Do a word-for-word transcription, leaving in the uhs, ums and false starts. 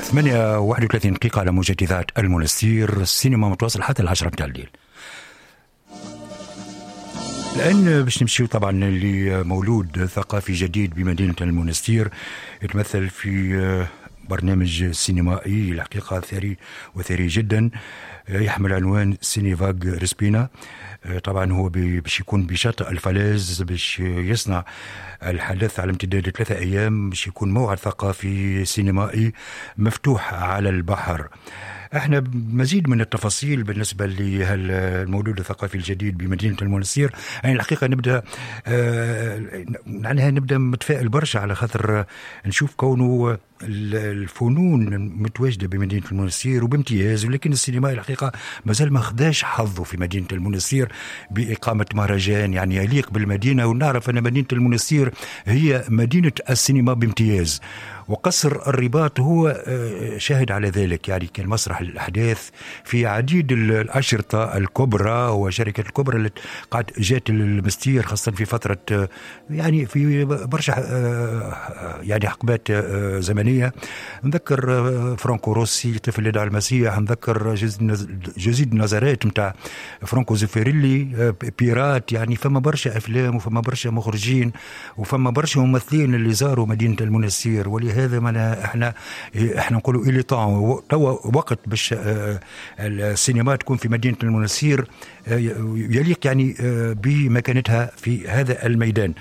ثمانية وواحد وثلاثين دقيقة على موجة إذاعة المنستير، السينما متواصل حتى العشرة متاع الليل. الآن باش نمشيو طبعا لمولود ثقافي جديد بمدينة المنستير، يتمثل في برنامج سينمائي الحقيقة ثري وثري جدا، يحمل عنوان Ciné-Vague رسبينا. طبعا هو باش يكون بشاطئ ال falaise، باش يصنع الحدث على امتداد ثلاثة أيام، باش يكون موعد ثقافي سينمائي مفتوح على البحر. احنا مزيد من التفاصيل بالنسبة للمولود الثقافي الجديد بمدينة المنستير. يعني الحقيقة نبدا آه معناها نبدا متفائل برشا، على خاطر نشوف كونه الفنون متواجدة بمدينة المنستير وبامتياز، ولكن السينما الحقيقة مازال ما خداش حظه في مدينة المنستير باقامة مهرجان يعني يليق بالمدينه. ونعرف ان مدينة المنستير هي مدينة السينما بامتياز، وقصر الرباط هو شاهد على ذلك. يعني كان مسرح الأحداث في عديد الأشرطة الكبرى وشركات الكبرى اللي قاعد جات المستير، خاصة في فترة يعني في برشا يعني حقبات زمنية. نذكر فرانكو روسي طفل يدعى المسيح، نذكر Jésus de Nazareth نتاع فرانكو زيفيريلي، Pirate. يعني فما برشا أفلام وفما برشا مخرجين وفما برشا ممثلين اللي زاروا مدينة المنستير، ولهذا هذا معناها احنا احنا نقولوا il est temps، توا وقت باش السينما تكون في مدينة المنستير يليق يعني بمكانتها في هذا الميدان.